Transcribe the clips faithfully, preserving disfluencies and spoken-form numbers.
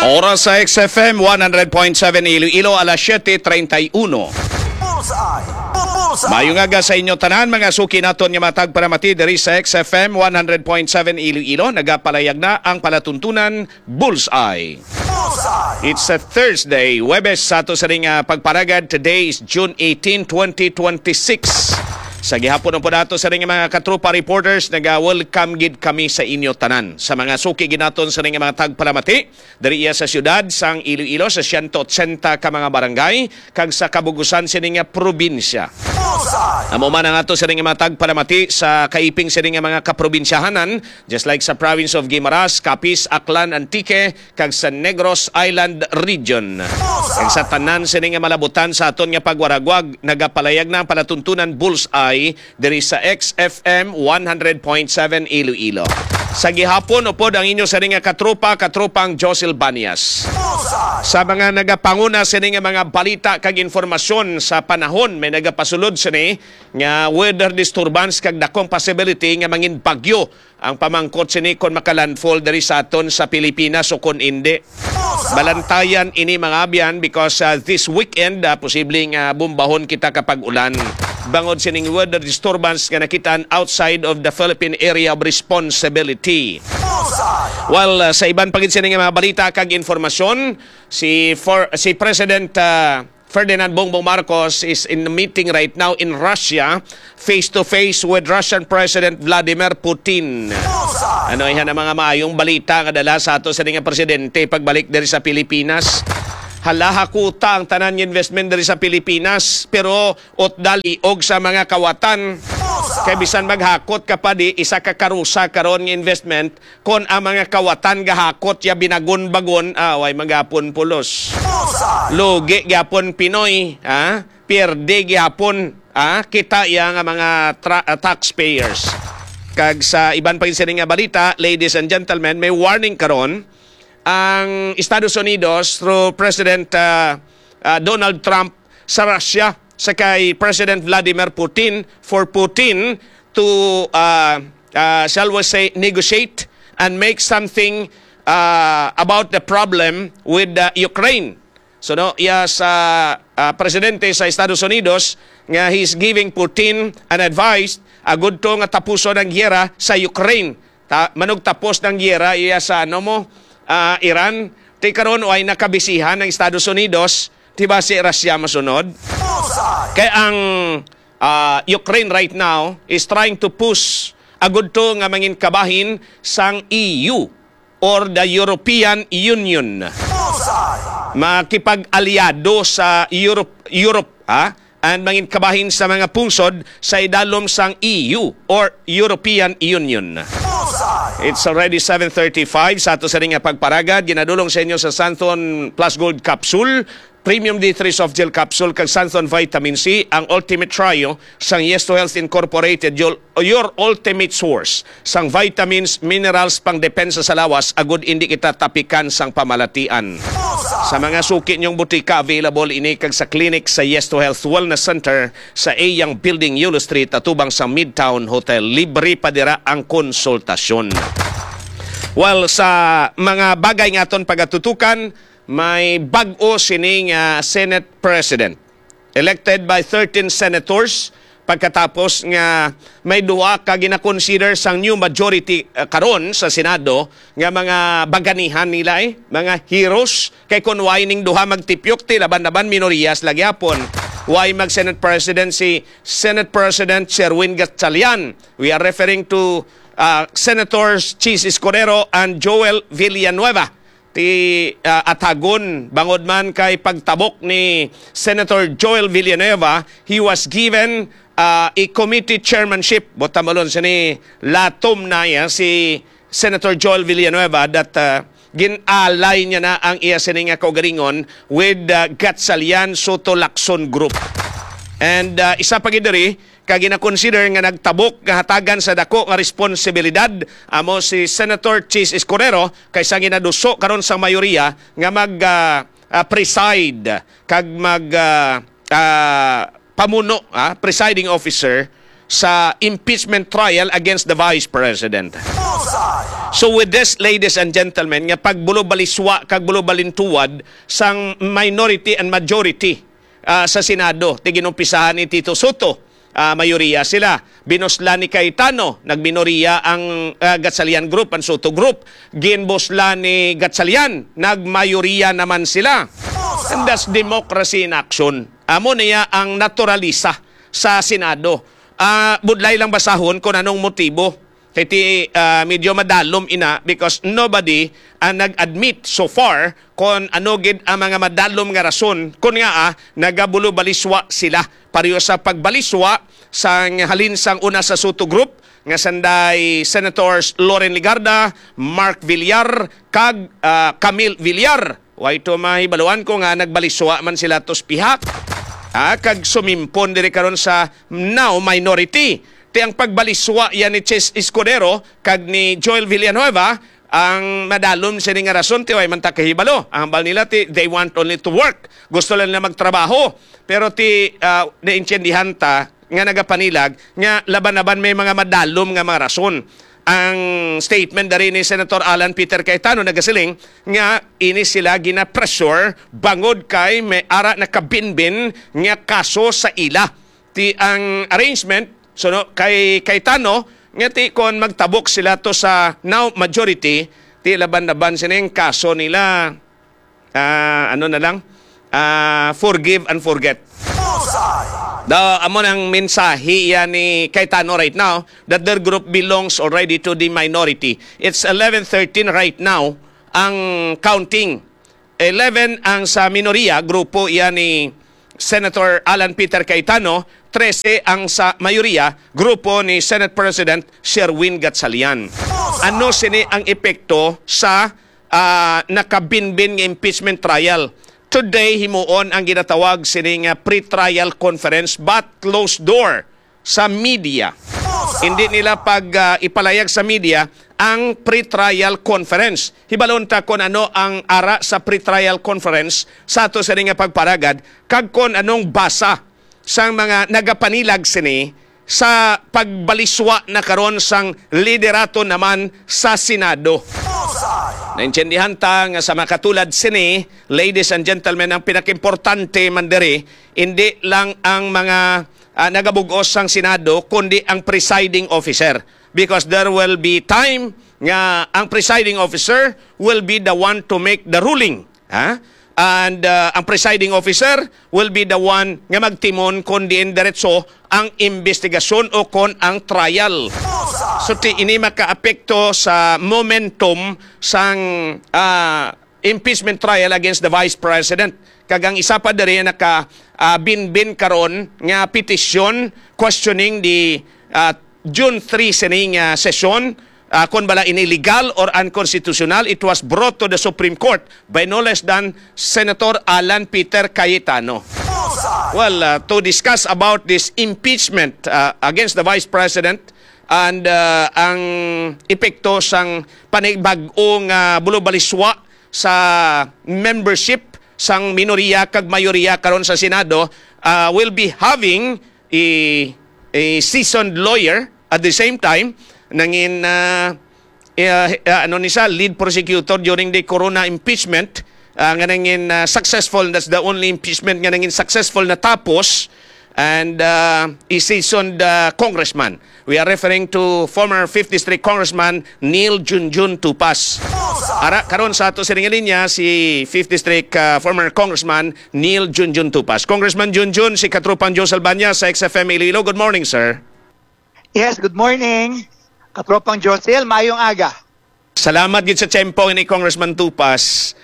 Oras sa X F M one hundred point seven Iloilo, alas siete treinta y uno. Bullseye! Bu- Bullseye! Mayong aga sa inyo tanan, mga suki naton nga mga tagpalamati diri sa X F M one hundred point seven Iloilo. Nagapalayag na ang palatuntunan Bullseye. Bullseye! It's a Thursday, Huwebes sa ato sa ring, ah, pagparagad. Today is June eighteen, twenty twenty-six. Sa gihapon po nato sa ring mga katropa reporters, naga-welcome gid kami sa inyo tanan. Sa mga suki gid naton sa ring mga tagpalamati, diri iya sa siyudad sang Iloilo, sa siyento otsenta ka mga barangay, kag sa kabugusan sini nga probinsya. Amo man ang ato sini nga mga tagpalamati sa kaiping sini nga mga kaprobinsyahanan, just like sa province of Guimaras, Capiz, Aklan, Antique, kag sa Negros Island Region. Kag sa tanan sini nga malabutan sa aton nga pagwaragwag, nagapalayag na ang palatuntunan Bullseye diri sa X F M one hundred point seven Iloilo. Sa gihapon, upod ang inyo sini nga katropa, katropang Josel Banias. Sa mga nagapanguna sini nga mga balita kag informasyon sa panahon, may nagapasulod sini nga weather disturbance kag dakong possibility nga mangin bagyo ang pamangkot sini kon makalandfall diri sa aton sa Pilipinas o kon indi. Balantayan ini, mga abyan, because, uh, this weekend, uh, posibleng, uh, bumbahon kita kapag ulan bangod sining weather disturbance nga nakitaan outside of the Philippine Area of Responsibility. Well, uh, sa iban pa gid sini nga mga balita kag informasyon, si for, si President, uh, Ferdinand Bongbong Marcos is in a meeting right now in Russia, face to face with Russian President Vladimir Putin. Ano, iha na mga maayong balita nga dala sa ato sa nga presidente pagbalik diri sa Pilipinas. Hala, hakuta ang tanan nga investment diri sa Pilipinas, pero utdali og sa mga kawatan. Kay bisan maghakot ka pa di, isa ka karusa karon nga investment, kon ang mga kawatan gahakot ya binagon-bagon, ah, way magapon pulos. Lugi gyapon Pinoy, ah, pierde gyapon, ah, kita ya nga mga tra-, ah, taxpayers. Kag sa iban pa gid sini nga balita, ladies and gentlemen, may warning karon ang Estados Unidos through President, ah, ah, Donald Trump sa Russia sa kay President Vladimir Putin, for Putin to, ah, ah, shall we say, negotiate and make something, ah, about the problem with, ah, Ukraine. So, no, iya sa, ah, presidente sa Estados Unidos nga he's giving Putin an advice, agud to nga tapuson ang giyera sa Ukraine. Ta-, manugtapos ng giyera iya sa, ano mo, ah, Iran. Ti karon, way nakabisihan ang Estados Unidos, ti ba si Russia masunod? Kay ang, ah, Ukraine right now is trying to push agud to nga mangin kabahin sang E U or the European Union. Makipag-aliado sa Europe, Europe, ha? And mangin kabahin sa mga pungsod sa idalom sang E U or European Union. It's already seven thirty-five. Sa ato sa ring nga pagparagad, ginadulong sa inyo sa Santon Plus Gold Capsule, Premium D three Soft Gel Capsule, kag Santon Vitamin C, ang Ultimate Trio sang Yes to Health Incorporated, your, your ultimate source sang vitamins, minerals, pang depensa sa lawas, agud indi kita tapikan sang pamalatian. Sa mga suki niyong butika, available ini kag sa clinic sa Yes to Health Wellness Center sa Eyang Building, Yulo Street, atubang sa Midtown Hotel. Libre pa dira ang konsultasyon. Well, sa mga bagay nga aton pagatutukan, may bag-o sining, ah, Senate President, elected by thirteen senators, pagkatapos nga may duha ka ginakonsider sang new majority, ah, karon sa Senado nga mga baganihan nila, eh, mga heroes. Kay kun way ning duha magtipyok, ti laban-laban minoriyas lagi hapon. Way mag Senate President si Senate President Sherwin Gatchalian. We are referring to, ah, Senators Chiz Escudero and Joel Villanueva. Ti, ah, atagon, bangod man kay pagtabok ni Senator Joel Villanueva, he was given, ah, a committee chairmanship. Buot silingon sini, latom na iya si Senator Joel Villanueva that, ah, gin-alay niya na ang iya sini nga kaugalingon with, ah, Gatchalian Soto Lacson Group. And, ah, isa pa gid diri, kag ginakonsider nga nagtabok nga hatagan sa dako nga responsibilidad amo si Senator Chiz Escudero kay sa ginaduso karon sang mayoriya nga mag, ah, ah, preside kag mag, ah, ah, pamuno, ah, presiding officer sa impeachment trial against the Vice President. So with this, ladies and gentlemen, nga pagbulobaliswa kag bulobalintuwad sang minority and majority, ah, sa Senado, ti ginumpisahan ni Tito Soto, ah, mayoriya sila. Binuslan ni Cayetano, nagminoriya ang, ah, Gatchalian Group, ang Soto Group. Ginbuslan ni Gatchalian, nagmayoriya naman sila. And that's democracy in action. Amo niya ang naturalisa sa Senado. Ah, budlay lang basahon kung anong motibo. Kay ti, ah, medyo madalom ina because nobody ang nag-admit so far kon ano gid ang mga madalom nga rason kon ngaa nagabulobaliswa sila. Pareho sa pagbaliswa sang halin sang una sa Soto Group nga sanday Senators Loren Legarda, Mark Villar, kag, ah, Camille Villar. Way to mahibaluan ko nga nagbaliswa man sila tos pihak. Ah, kag sumimpon diri karon sa now minority. Ti ang pagbaliswa yan ni Chis Escudero kag ni Joel Villanueva ang madalom sini nga rason ti way man ta kahibalo. Ang hambal nila ti they want only to work. Gusto lang nila magtrabaho. Pero ti, ah, naintindihan ta nga nagapanilag nga laban-laban may mga madalom nga mga rason. Ang statement dari ni Senator Alan Peter Cayetano nagasiling nga ini sila gina-pressure bangod kay may ara nakabinbin nga kaso sa ila. Ti ang arrangement, so no, kay Cayetano, nga ti kon magtabok sila to sa now majority, ti laban-laban sining kaso nila, ah, ano na lang, ah, forgive and forget. Daw, amo nang mensahe iya ni Cayetano right now that their group belongs already to the minority. It's eleven thirteen right now ang counting. Eleven ang sa minoriya, grupo iya ni Senator Alan Peter Cayetano, trese ang sa mayoriya, grupo ni Senate President Sherwin Gatchalian. Ano sini ang epekto sa, ah, nakabinbin nga impeachment trial? Today, himuon ang ginatawag sini nga pre-trial conference but closed door sa media. Hindi nila pag, ah, ipalayag sa media ang pre-trial conference. Hibalon ta kon ano ang ara sa pre-trial conference sa ato sini nga pagparagad kag kon anong basa sang mga nagapanilag sini sa pagbaliswa na karon sang liderato naman sa Senado. Naintindihan ta nga sa makatulad sini, ladies and gentlemen, ang pinakaimportante man diri, hindi lang ang mga, ah, nagabug-os sang Senado, kundi ang presiding officer. Because there will be time nga ang presiding officer will be the one to make the ruling. Ha? And, uh, ang presiding officer will be the one nga magtimon kon diin diretso ang investigasyon o kon ang trial. So, ti, ini makaapekto sa momentum sang, ah, impeachment trial against the Vice President. Kag ang isa pa diri naka, ah, binbin karon nga petisyon questioning the, ah, June three sining, ah, sesyon, ah, kon bala ini legal or unconstitutional, it was brought to the Supreme Court by no less than Senator Alan Peter Cayetano. Well, ah, to discuss about this impeachment, ah, against the Vice President and, ah, ang epekto sang panibag-o nga bulubaliswa sa membership sang minoriya kag mayoriya karon sa Senado, ah, will be having a, a seasoned lawyer at the same time nangin, ah, eh, ah, ano ni siya, lead prosecutor during the Corona impeachment, ah, nga nangin, ah, successful. That's the only impeachment nga nangin successful natapos, and, ah, a seasoned, ah, congressman. We are referring to former fifth District Congressman Neil Junjun Tupas. Ara, karon sa ato sining linya si fifth District, ah, former Congressman Neil Junjun Tupas. Congressman Junjun, si Katropang Joe Salbaña sa X F M Iloilo. Good morning, sir. Yes, good morning. Katropang Josel, maayong aga. Salamat gid sa tiyempo ni Congressman Tupas.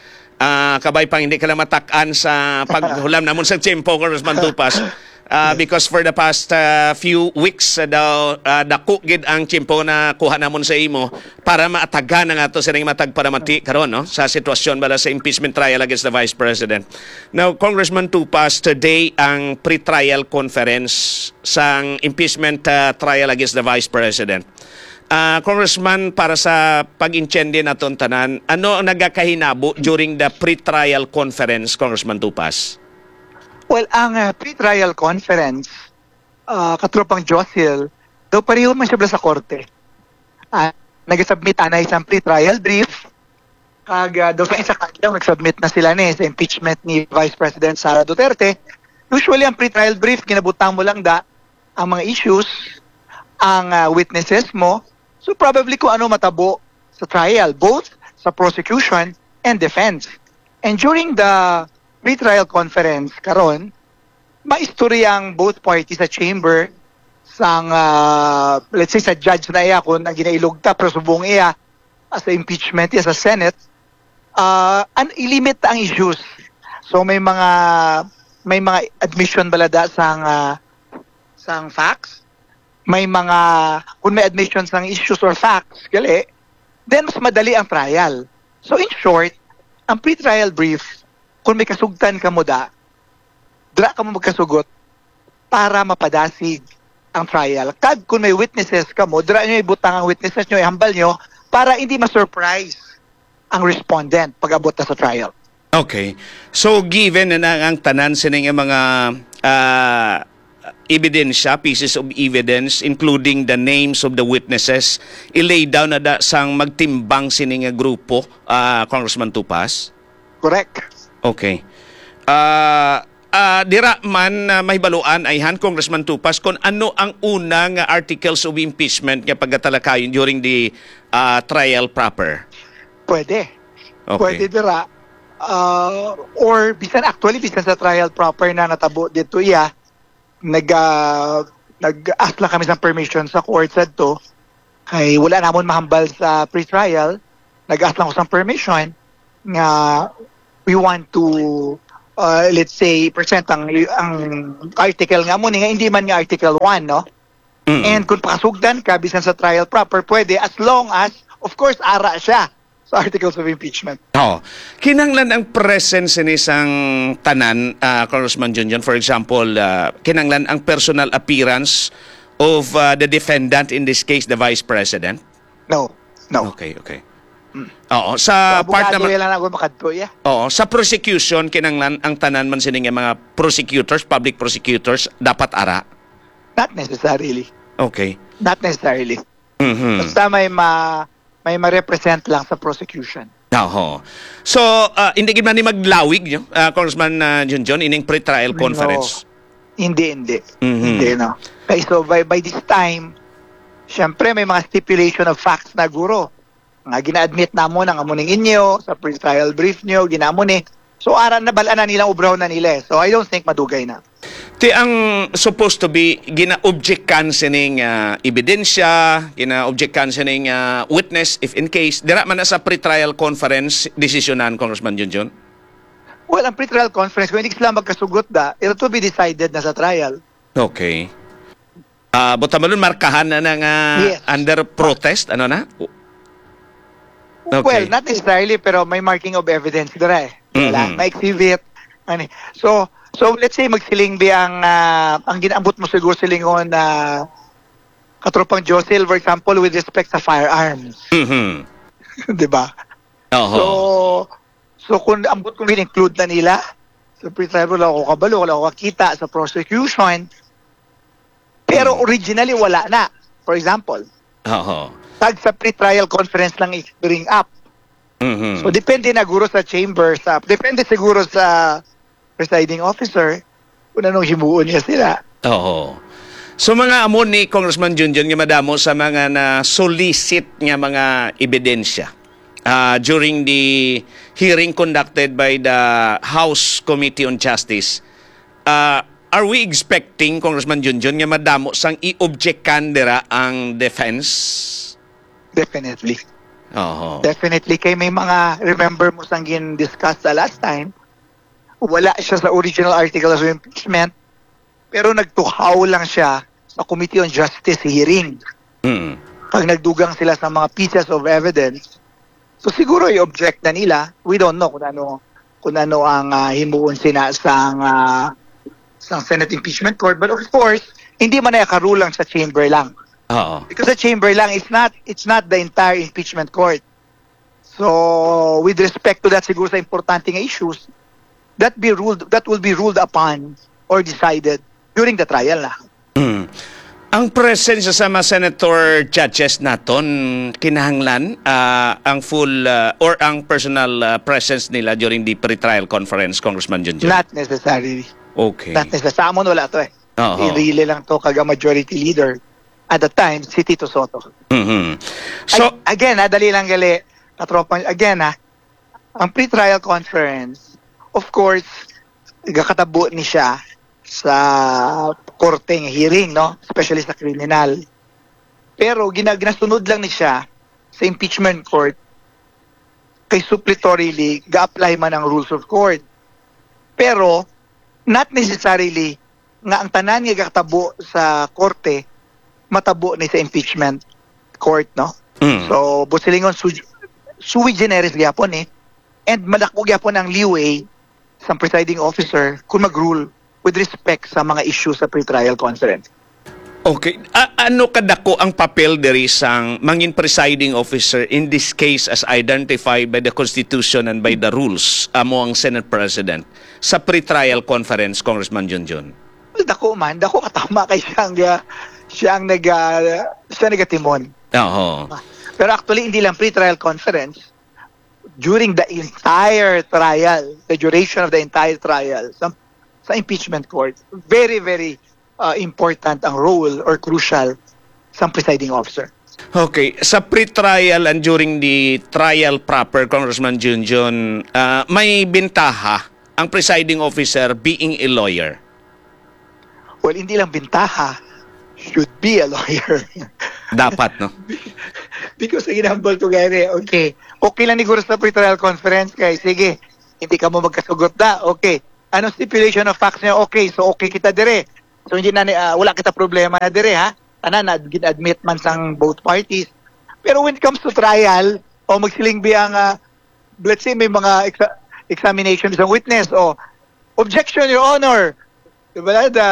Ah, kabay pang hindi ka lang matak-an sa paghulam namon sa tiyempo, Congressman Tupas. Ah, because for the past, ah, few weeks, ah, daw, ah, dako gid ang tiyempo na kuha namon sa imo para maatagan ang ato sining matag paramati karon, no, sa sitwasyon bala sa impeachment trial against the Vice President. Now, Congressman Tupas, today ang pre-trial conference sang impeachment, ah, trial against the Vice President. Ah, Congressman, para sa pag-intindi naton tanan, ano ang nagakahinabo during the pre-trial conference, Congressman Tupas? Well, ang, ah, pre-trial conference, ah, Katropang Josil, daw pareho man siya sa korte. Ah, Nagsubmit anay sang pre-trial brief. Kag, ah, daw sa isa ka adlaw, nagsubmit na sila ni sa impeachment ni Vice President Sara Duterte. Usually, ang pre-trial brief, ginabutang mo lang da ang mga issues, ang, ah, witnesses mo. So, probably kung ano matabo sa trial, both sa prosecution and defense. And during the pre-trial conference karon, maistorya ang both parties sa chamber, sang, ah, let's say, sa judge na iya kung ang ginailog ta, pero subong iya, ah, sa impeachment, iya sa Senate, ah, an ilimit ang issues. So may mga, may mga admission bala da sang, ah, sang facts, may mga, kung may admission sang issues or facts, gali, then mas madali ang trial. So in short, ang pre-trial brief, kung may kasugtan kamo da, dira kamo magkasugot para mapadasig ang trial. Kag kung may witnesses kamo, dira nyo ibutang ang witnesses nyo, ihambal nyo para hindi ma-surprise ang respondent pag-abot na sa trial. Okay. So, given na, na ang tanan sini nga mga, ah, ebidensya, pieces of evidence, including the names of the witnesses, i-lay down na da sang magtimbang sini nga grupo, ah, Congressman Tupas? Correct. Okay. Ah, ah, dira man, ah, mahibaluan, ayhan, Congressman Tupas, kung ano ang una nga articles of impeachment nga pagatalakayon during the, ah, trial proper? Pwede. Okay. Pwede dira. Ah, or bisan, actually, bisan sa trial proper na natabo dito iya, nag, ah, nag-ask lang kami sa permission sa court sadto. Kay wala namon mahambal sa pre-trial. Nag-ask lang ko sa permission nga we want to, ah, let's say, present ang, ang article nga mo ni, nga hindi man nga Article one, no? Mm. And kung pakasugdan ka, bisan sa trial proper, pwede, as long as, of course, ara siya sa articles of impeachment. Oh, kinahanglan ang presence ni sang tanan, ah, Congressman Junjun. For example, ah, kinahanglan ang personal appearance of, ah, the defendant, in this case, the Vice President. No, no. Okay, okay. Oo, sa part Abogado naman, lang ako makadto, yeah. Oo, sa prosecution, kinahanglan ang tanan man sini nga mga prosecutors, public prosecutors, dapat ara. Not necessarily. Okay. Not necessarily. Mhm. Basta may ma may ma-represent lang sa prosecution. Oho. So, ah, hindi gid man ni maglawig, no? Ah, Congressman, ah, Junjun, ining pre-trial No. Conference. Hindi, hindi. Mhm. Hindi, no. Okay, so by, by this time, syempre may mga stipulation of facts na, guro. Nga gina-admit namon ang amo ning inyo sa pre-trial brief nyo, ginamo ni. So, ara na, bal-an na nilang ubraw na nila, eh. So, I don't think madugay na. Ti ang supposed to be gina-objectan sining, ah, ebidensya, gina-objectan sining, ah, witness, if in case, dira man na sa pre-trial conference, desisyonan, Congressman Junjun? Well, ang pre-trial conference, kung hindi sila magkasugot da, it will be decided na sa trial. Okay. Ah, buta malun, markahan na na nga Yes. under protest, ano na? Okay. Well, not necessarily, pero may marking of evidence dira, eh. Wala, Mhm. may exhibit. Ano, eh. So, so let's say magsiling bi ang, ah, ang ginaambot mo siguro silingon na Katropang Josil, for example, with respect sa firearms. Mhm. Di ba? Oho. So, so kung ambot kung include na nila sa pre-trial, wala ako kabalo, wala ako kakita sa prosecution. Pero originally, wala na. For example, Oho. tag sa pre-trial conference lang i-bring up. Mhm. So, depende na guro sa chamber, sa, depende siguro sa presiding officer kung anong himuon niya sila. Oo. So, mga amo ni Congressman Junjun nga madamo sa mga na-solicit nga mga ebidensya, ah, during the hearing conducted by the House Committee on Justice. Ah, are we expecting, Congressman Junjun, nga madamo sang i-objectan dira ang defense? Definitely. Oo. Definitely. Kay may mga, remember mo sang gin-discuss sa last time, wala siya sa original articles of impeachment, pero nagtuhaw lang siya sa Committee on Justice hearing. Mm. Pag nagdugang sila sa mga pieces of evidence, so siguro i-object na nila. We don't know kung ano, kung ano ang, ah, himuon sina sang, ah, sang Senate Impeachment Court. But of course, hindi man na karulang sa chamber lang. Oo. Because the chamber lang is not, it's not the entire impeachment court. So, with respect to that, siguro sa importante nga issues, that be ruled, that will be ruled upon or decided during the trial na. Mm. Ang presence sa mga senator judges naton, kinahanglan, ah, ang full, ah, or ang personal, ah, presence nila during the pretrial conference, Congressman Junjun? Not necessarily. Okay. Not necessarily. Sa amon, wala to eh. Oo. Pinili lang to kag ang majority leader at the time, si Tito Soto. Mhm. So, Ag-, again, ha, dali lang gali, katropang, again, ha, ang pretrial conference, of course, gakatabo ni siya sa korte nga hearing, no? Especially sa kriminal. Pero gina-, ginasunod lang ni siya sa impeachment court kay suppletorily ga-apply man ang rules of court. Pero not necessarily nga ang tanan nga gatabo sa korte matabo ni sa impeachment court, no? Mm. So, busilingon su-, sui generis gyapon eh. And madako gyapon ang leeway sang presiding officer kung mag-rule with respect sa mga issues sa pretrial conference. Okay. A-, ano kadako ang papel diri sang mangin presiding officer in this case as identified by the Constitution and by the rules amo ang Senate President sa pretrial conference, Congressman Junjun? Well, dako man, dako katama kay siya ang, ah, siya ang nag, ah, siya nagatimon. Oo. Pero actually, hindi lang pretrial conference, during the entire trial, the duration of the entire trial, sa, sa impeachment court, very, very, uh, important ang role or crucial sang presiding officer. Okay, sa pre-trial and during the trial proper, Congressman Junjun, ah, may bintaha ang presiding officer being a lawyer? Well, hindi lang bintaha, should be a lawyer. Dapat, no? Because ang ginambol ko gani, okay, okay lang ni guro sa pre-trial conference kay, sige, hindi ka mo magkasugot na, okay. Ano stipulation of facts niya? Okay, so okay kita dire. So hindi na ni-, ah, wala kita problema na dire, ha? Tanan na gin-admit man sang both parties. Pero when it comes to trial, o magsiling biyang, ah, let's say may mga exa-, examination sa witness, o objection, Your Honor. Diba? The,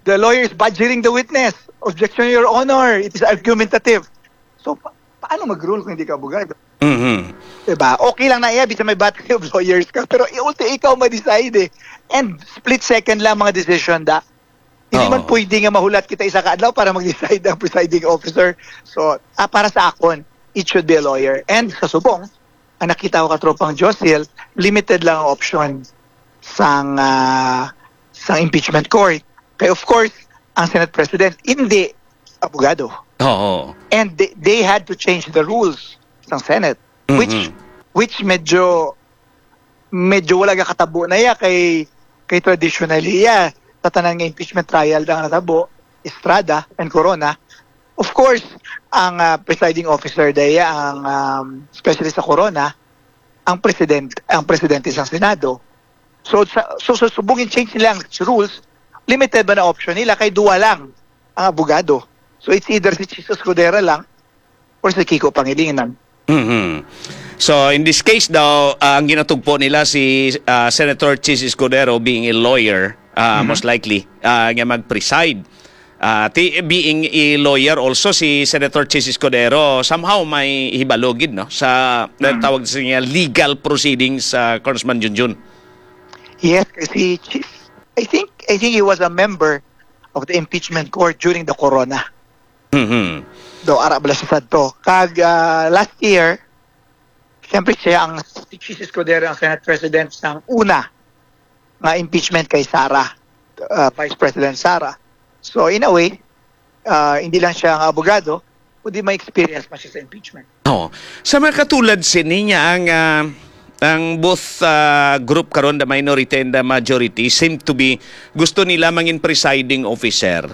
the lawyer is badgering the witness. Objection, Your Honor. It is argumentative. So, pa-, paano mag-rule kung hindi ka abogado? Mhm. Diba? Okay lang na iya, bisa may battery of lawyers ka, pero i-, ulti ikaw ma-decide eh. And split second lang mga decision da. Hindi man Oo. pwede nga mahulat kita isa ka adlaw para mag-decide ang presiding officer. So, ah, para sa akon, it should be a lawyer. And sa subong, ang nakita ko katropang Josil, limited lang ang option sang, ah, sang impeachment court. Kay of course, ang Senate President, hindi abogado. Oo. And they, they had to change the rules sang Senate, which, Mhm. which medyo, medyo wala gakatabo na iya kay, kay traditionally iya, sa tanan nga impeachment trial na natabo, Estrada and Corona. Of course, ang, ah, presiding officer daya, ang, um, especially sa Corona, ang president, ang presidente sang Senado. So, sa, so, sa subong in-change nila ang rules, limited ba na option nila kay duwa lang ang abogado. So, it's either si Chiz Escudero lang or si Kiko Pangilinan. Mhm. So, in this case daw, ah, ang ginatugpo nila si, ah, Senator Chiz Escudero being a lawyer, ah, Mhm. most likely, ah, nga mag-preside. Ah, ti-, being a lawyer also, si Senator Chiz Escudero, somehow may hibalo gid, no, sa Hmm. tawag sa niya legal proceedings, ah, Congressman Junjun. Yes, kasi Chiz, I think, I think he was a member of the impeachment court during the Corona. Mhm. Do, ara bala siya sadto. Kag, ah, last year, siyempre siya ang, si Chiz Escudero ang Senate President sang una nga impeachment kay Sara, ah, Vice President Sara. So, in a way, ah, hindi lang siya ang abogado, kundi may experience man siya sa impeachment. Oo. Sa mga katulad sini nga ang, ah, ang both, ah, group karon, the minority and the majority, seem to be gusto nila mangin presiding officer.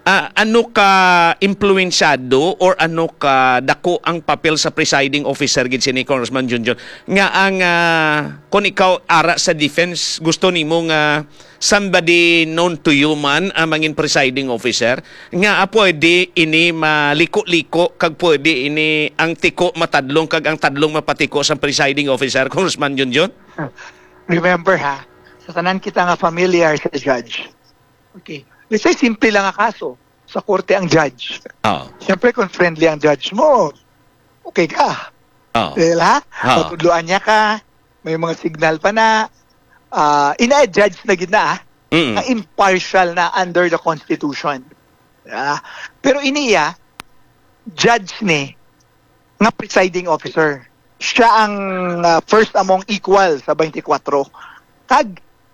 Ah, ano ka impluwensyado or ano ka dako ang papel sa presiding officer gid sini, Congressman Junjun, nga ang, ah, kung ikaw ara sa defense, gusto nimo nga somebody known to you man ang mangin presiding officer, nga, ah, pwede ini maliko-liko kag pwede ini ang tiko matadlong kag ang tadlong mapatiko sa presiding officer, Congressman Junjun? Remember ha, sa tanan kita nga familiar sa judge. Okay. Let's say, simple lang ang kaso. Sa korte ang judge. Oo. Siyempre, kung friendly ang judge mo, okay ka. Oo. Dahil ha, Oo. matudloan niya ka, may mga signal pa na, ah, ina-judge na gid na, ah, Mm. na impartial na under the Constitution. Ah, pero ini iya, judge ni nga presiding officer. Siya ang, ah, first among equal sa twenty-four. Kag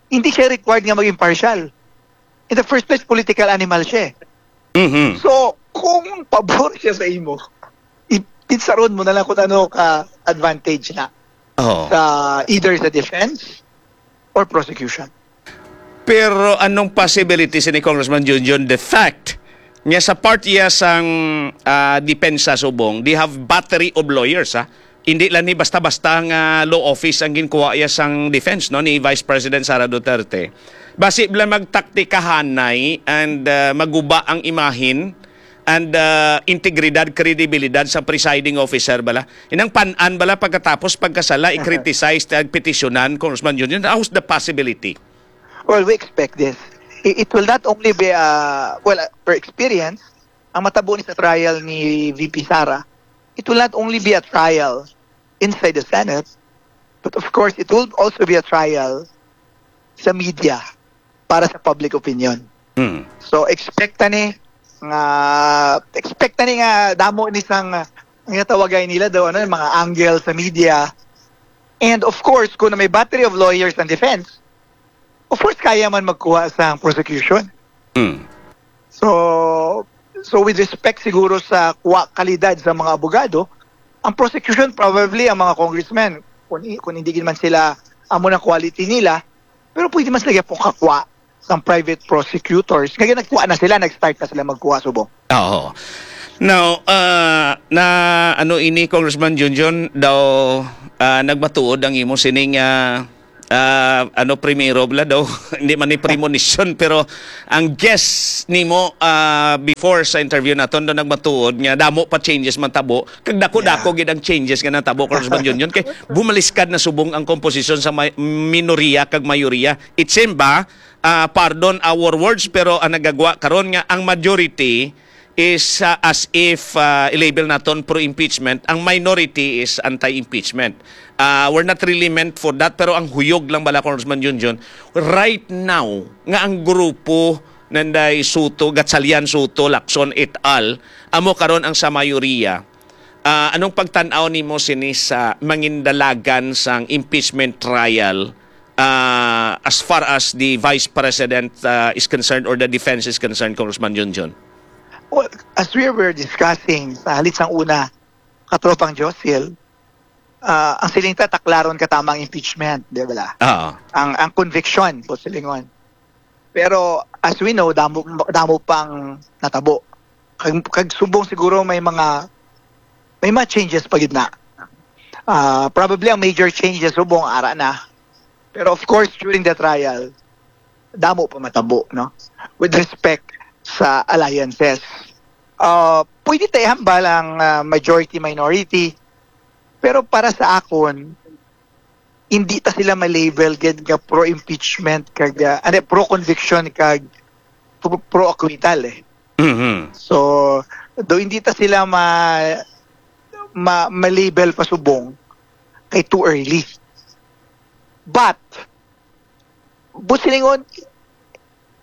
hindi siya required nga maging impartial. In the first place, political animal siya eh. Mhm. So, kung pabor siya sa imo, i- pitsaron mo na lang kung ano ka advantage na Oh. Sa either sa defense or prosecution. Pero anong possibility sini, Congressman Junjun, the fact nga sa part iya sang ah, depensa subong, they have battery of lawyers, ha? Hindi lang ni basta-basta nga law office ang ginkuha iya sang defense, no, ni Vice President Sara Duterte. Basi bala magtaktikahanay and ah, maguba ang imahin and ah, integridad, kredibilidad sa presiding officer bala. Inang pan-an bala pagkatapos pagkasala i-criticize at petisyonan, Congressman Junjun. How's the possibility? Well, we expect this. I- It will not only be a, well, uh, per experience, ang matabo ni sa trial ni V P Sara, it will not only be a trial inside the Senate, but of course, it will also be a trial sa media para sa public opinion. Hmm. So, expect ta ni nga, expect ta ni nga damo ni sang, nga tawagay nila daw, ano, mga angle sa media. And of course, kung may battery of lawyers and defense, of course, kaya man magkuha sa prosecution. Hmm. So, so with respect siguro sa kwa kalidad sa mga abogado, ang prosecution probably ang mga congressmen, kung, i- kung hindi man sila amo na quality nila, pero pwede man sila gyapon kakwa sa private prosecutors. Kaya nagkuha na sila, nag-start na sila magkuha subong. Oo. Now, ah, na ano ini, Congressman Junjun, daw ah, nagmatuod ang imo sining ah, ah, ano, primero bala daw, hindi man ni premonition, pero ang guess nimo ah, before sa interview naton daw nagmatuod nga damo pa changes man tabo, kag dako-dako gid ang changes nga natabo, Congressman Junjun, kay bumaliskad na subong ang komposisyon sa may, minorya kag mayorya. It seem ba, ah, pardon our words, pero ang nagagwa karon nga ang majority is ah, as if ah, i-label naton pro-impeachment, ang minority is anti-impeachment. Ah, we're not really meant for that, pero ang huyog lang bala, Congressman Junjun, right now nga ang grupo nanday Soto, Gatchalian, Soto, Lacson et al, amo karon ang sa mayoriya. Ah, anong pagtan-aw nimo sini sa mangindalagan sang impeachment trial ah, as far as the Vice President ah, is concerned or the defense is concerned, Congressman Junjun? Well, as we were discussing sa halit sang una, katropang Josil, ah, ang siling ta, taklaron ka tama ang impeachment, di ba? Oo. Ang, ang conviction, po silingon. Pero as we know, damo, damo pang natabo. Kag, kag subong siguro may mga may mga changes pa gid na. Ah, probably ang major changes subong ara na. Pero of course, during the trial, damo pa matabo, no? With respect sa alliances. Ah, pwede ta ihambal ang ah, majority minority. Pero para sa akon, hindi ta sila ma-label gid nga pro impeachment kag ah, ano, pro conviction kag pro, pro acquittal eh. Mhm. So, do hindi ta sila ma, ma, ma-label pa subong kay too early. But busilingon,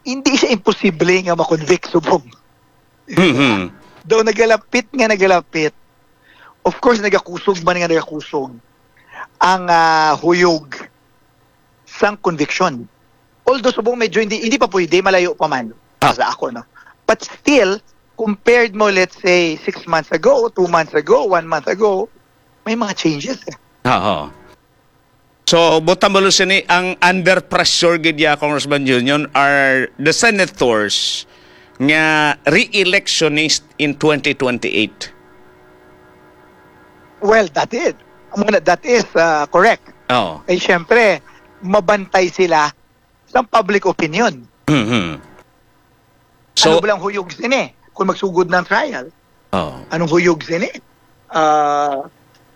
hindi siya imposible nga ma-convict subong. Mhm. Daw nagalapit nga nagalapit. Of course, nagakusog man nga nagakusog ang ah, huyog sang conviction. Although subong medyo hindi hindi pa pwede, malayo pa man Ah. sa ako, no. But still, compared mo, let's say, six months ago, two months ago, one month ago, may mga changes eh. Oo. So, butang mo sini, ang under pressure gid ya, Congressman Junjun, are the senators nga re-electionist in twenty twenty-eight. Well, that is. Amo na, that is uh, correct. Oo. Eh, syempre, mabantay sila sa public opinion. Mhm. So, So, ano ba lang huyog sini kung magsugod ng trial? oh. Anong huyog sini? Ah,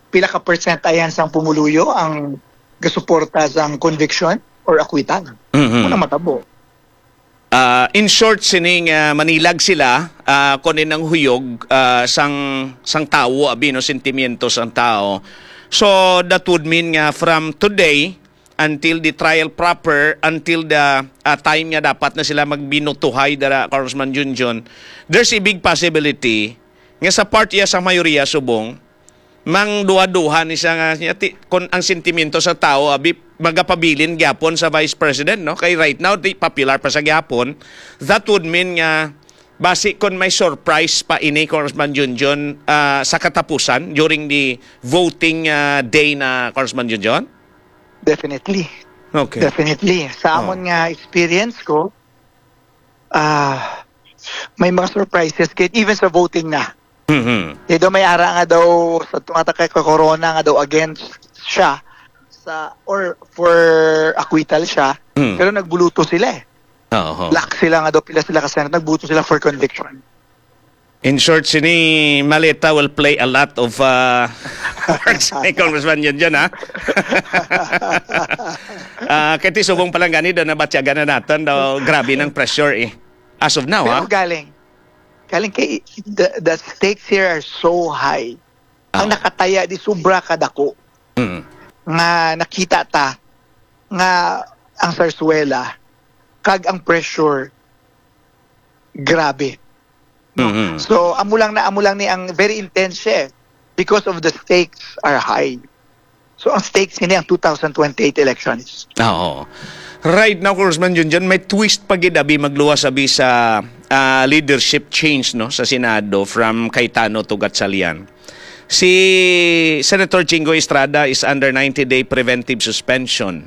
pila ka percent ayan sang pumuluyo ang gasuporta sang conviction or acquittal? Mhm. Ano matabo? Ah, in short, sining ah, manilag sila ah, kunin ang huyog ah, sang sang tawo, abi, no, sentimiento sang tao. So that would mean nga from today, until the trial proper, until the, ah, time nga dapat na sila magbinutuhay dira, Congressman Junjun, there's a big possibility nga sa part iya sa mayoriya subong, mangduha-duha ni siya nga niya ti, kon ang sentimento sa tao abi magapabilin gyapon sa Vice President, no? Kay right now, di popular pa sa gyapon. That would mean nga basi kon may surprise pa ini, Congressman Junjun, ah, sa katapusan during the voting, ah, day na, Congressman Junjun? Definitely. Okay. Definitely. Sa Oh. amon nga experience ko, ah may mga surprises kay even sa voting na. Mhm. Kay daw may ara nga daw sa tunga ta kay corona nga daw against siya sa or for acquittal siya, Mm. pero nagbuluto sila eh. Oo. Black sila nga daw, pila sila ka Senate, nagbuto sila for conviction. In short, sini Maleta will play a lot of uh, words kay Congressman Junjun, ha? Ah, kay ti subong pa lang gani daw nabatyagan na naton daw grabe ng pressure eh. As of now, ha? Pero galing, galing kay the, the stakes here are so high. Ang Oh. Nakataya di sobra kadako Mm. nga nakita ta nga ang sarsuela kag ang pressure grabe. Mhm. So amo lang na amo lang ni ang very intense siya eh, because of the stakes are high. So ang stakes ini ang two thousand twenty-eight elections. Oo. Right now, Congressman Junjun, may twist pa gid abi magluwas abi sa ah, leadership change, no, sa Senado from Cayetano to Gatchalian. Si Senator Jinggoy Estrada is under ninety-day preventive suspension.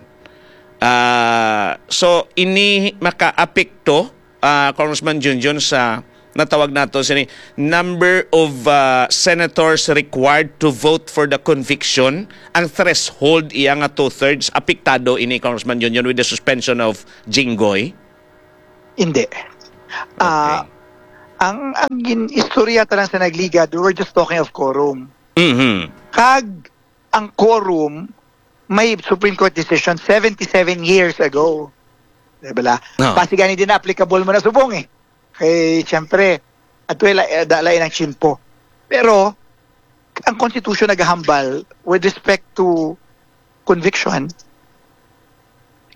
Ah, so ini makaapekto, ah, Congressman Junjun, sa natawag nato sini number of ah, senators required to vote for the conviction. Ang threshold iya nga two-thirds, apektado ini, Congressman Junjun, with the suspension of Jinggoy? Hindi. Ah, ang ang gin istorya ta lang sa nagligad, we were just talking of quorum. Mhm. Kag ang quorum may Supreme Court decision seventy-seven years ago. Di ba? No. Basi gani din applicable mo na subong eh. Kay siyempre, at wala eh, dala ang tiyempo. Pero ang constitution nagahambal with respect to conviction,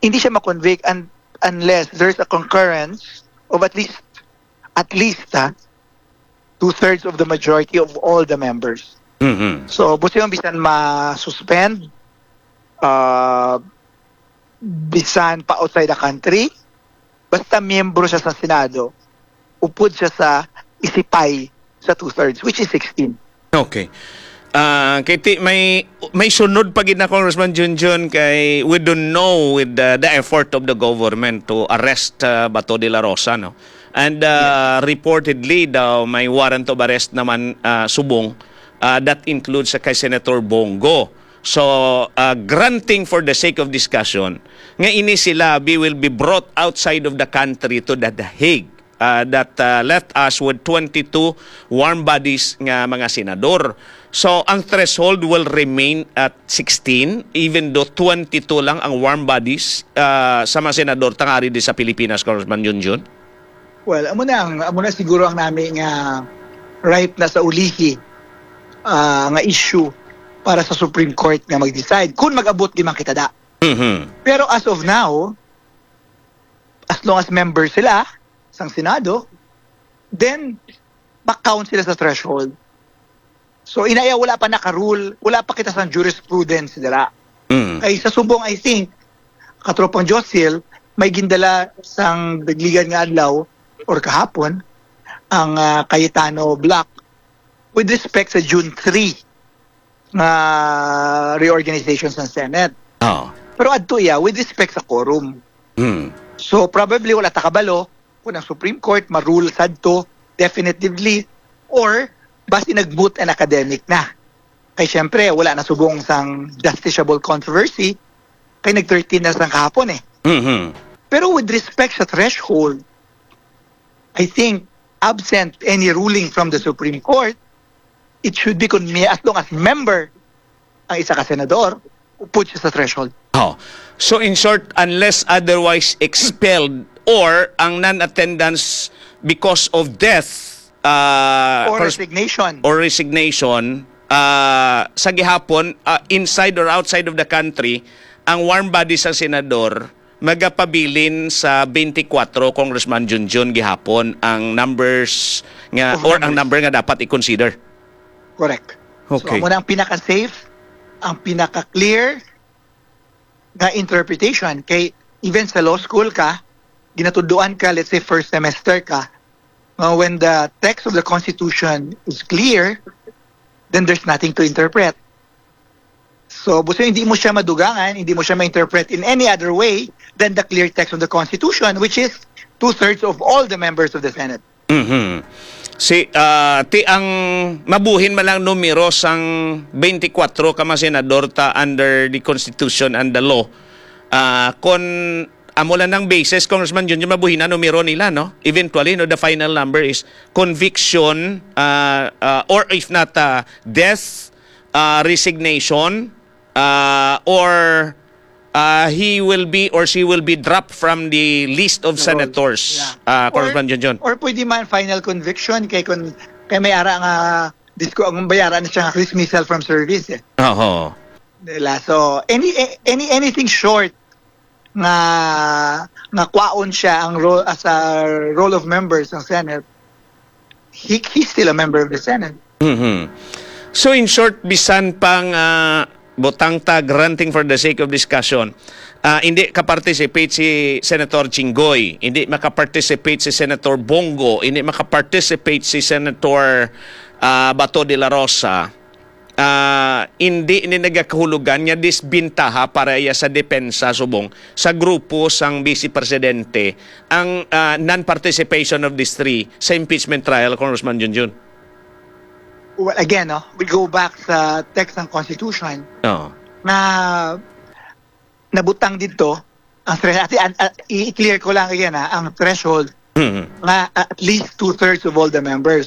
hindi siya ma-convict un- unless there's a concurrence of at least at least ha, two-thirds of the majority of all the members. Mhm. So, busi yung bisan ma-suspend, uh, bisan pa outside the country, basta miyembro siya sa Senado, upod siya sa isipay sa two-thirds, which is sixteen. Okay. Ah, kay ti, may may sunod pa gid na, Congressman Junjun, kay we don't know with the, the effort of the government to arrest uh, Bato de la Rosa, no? And uh, reportedly daw may warrant of arrest naman uh, subong uh, that includes uh, kay Senator Bong Go. So, uh, granting for the sake of discussion, nga ini sila be, will be brought outside of the country to The Hague, uh, that uh, left us with twenty-two warm bodies nga mga senador. So, ang threshold will remain at sixteen, even though twenty-two lang ang warm bodies uh, sa mga senador tangari di sa Pilipinas, Congressman Junjun. Well, amo na ang amo na siguro ang nami nga ripe na sa ulihi ah, nga issue para sa Supreme Court nga mag-decide kung mag-abot di man kita da. Mhm. Pero as of now, as long as member sila sang Senado, then ma-count sila sa threshold. So inaya wala pa naka-rule, wala pa kita sang jurisprudence dira. Mm. Kay sa subong, I think, katropang Josil, may gindala sang dagligan nga adlaw or kahapon ang ah, Cayetano bloc with respect sa June three nga reorganization sa Senate. Oh. Pero adto iya with respect sa quorum. Mm. So probably wala ta kabalo kung ang Supreme Court ma-rule sadto definitively or basi nag-moot and academic na. Kay siyempre wala na subong sang justiciable controversy kay nag thirteen na sang kahapon eh. Mhm. Pero with respect sa threshold, I think absent any ruling from the Supreme Court, it should be kon may as long as member ang isa ka senador, upod siya sa threshold. Oh. So in short, unless otherwise expelled or ang non-attendance because of death uh, Or pers- resignation. or resignation, Ah, sa gihapon, ah, inside or outside of the country, ang warm body sa senador magapabilin sa twenty-four, Congressman Junjun, gihapon ang numbers nga, Of or ang members. Number nga dapat i-consider. Correct. So, Okay. Amo na ang pinaka-safe, ang pinaka-clear nga interpretation. Kay even sa law school ka, ginatuduan ka, let's say first semester ka, nga when the text of the Constitution is clear, then there's nothing to interpret. So, buso hindi mo siya madugangan, hindi mo siya ma-interpret in any other way than the clear text of the Constitution, which is two-thirds of all the members of the Senate. Mhm. Si ah, ti ang mabuhin man lang numero sang twenty-four ka mga senador ta under the Constitution and the law. Ah, kon amo lang ang basis, Congressman Junjun, mabuhin na numero nila, no? Eventually, no, the final number is conviction, ah, ah, or if not, ah, death, ah, resignation, ah, or ah, he will be or she will be dropped from the list of The roll. senators, Yeah. ah, Or- Congressman Junjun. Or pwede man final conviction kay kung kay may ara nga disco ang bayara na siya nga dismissal from service eh. Oo. Nila. So any any anything short nga nga kwaon siya ang role as a roll of members ng Senate, he, he's still a member of the Senate. Mhm. So in short, bisan pang ah, butang ta granting for the sake of discussion, ah, hindi ka-participate si Senator Jinggoy, hindi maka-participate si Senator Bongo, hindi maka-participate si Senator ah, Bato de la Rosa, ah, hindi ini nagakahulugan nga disbintaha para iya sa depensa subong sa grupo sang Vice Presidente ang ah, non-participation of these three sa impeachment trial, Congressman Junjun. Well, again, no, we go back sa text ng Constitution Oo. na nabutang dito ang thre- ati- an- ah, i-clear ko lang again ha, ang threshold Mhm. nga at least two-thirds of all the members.